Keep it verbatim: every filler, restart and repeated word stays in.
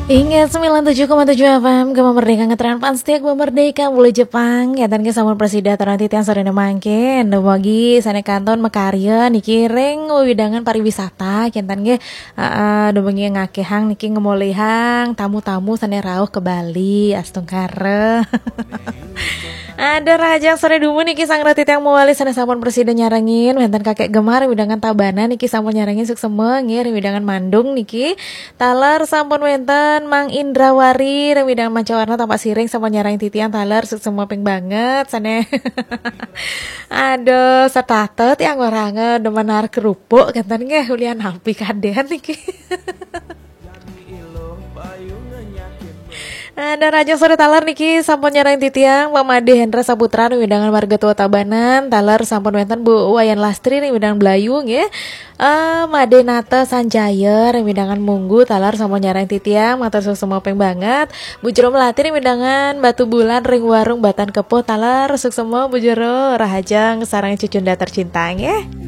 Ingat sembilan tujuh koma tujuh F M Gema Merdeka, ngetren pan setia Gema Merdeka, Bulu Jepang. Ya, dan ke sampun presida taran titiang sorene mangkin. Dumugi sane kantun makarya niki ring wewidangan pariwisata, kinten nggih. Heeh, dumugi ngakehang niki, ngemolihang tamu-tamu sane rauh ke Bali, astungkara. Ada rahajeng sore dumun niki sang rati tiang mawali sane sampun presida nyarengin, wenten Kakek Gemar ring wewidangan Tabanan niki sampun nyarengin suksema nggih, ring wewidangan Mandung niki. Taler sampun wenten Mang Indrawari ring wewidangan Mancawarna Tampaksiring sampun nyarengin titiang taler suksema ping banget sane. Aduh, setata tiang waranga demen ar kerupuk kinten nggih, ulian napi kaden niki. Ada rahajeng sore taler niki sampun nyarengin titiang Pak Made Hendra Saputra ring wewidangan Marga Tua Tabanan, taler sampun wenten Bu Wayan Lastri ring wewidangan Blayu nggih. Eh, Made Nata Sanjaya ring wewidangan Munggu, taler sampun nyarengin titiang, matur suksema ping banget. Bu Jero Melati ring wewidangan Batu Bulan ring Warung Batan Kepuh, taler suksema Bu Jero, rahajeng sareng cucunda tercinta nggih.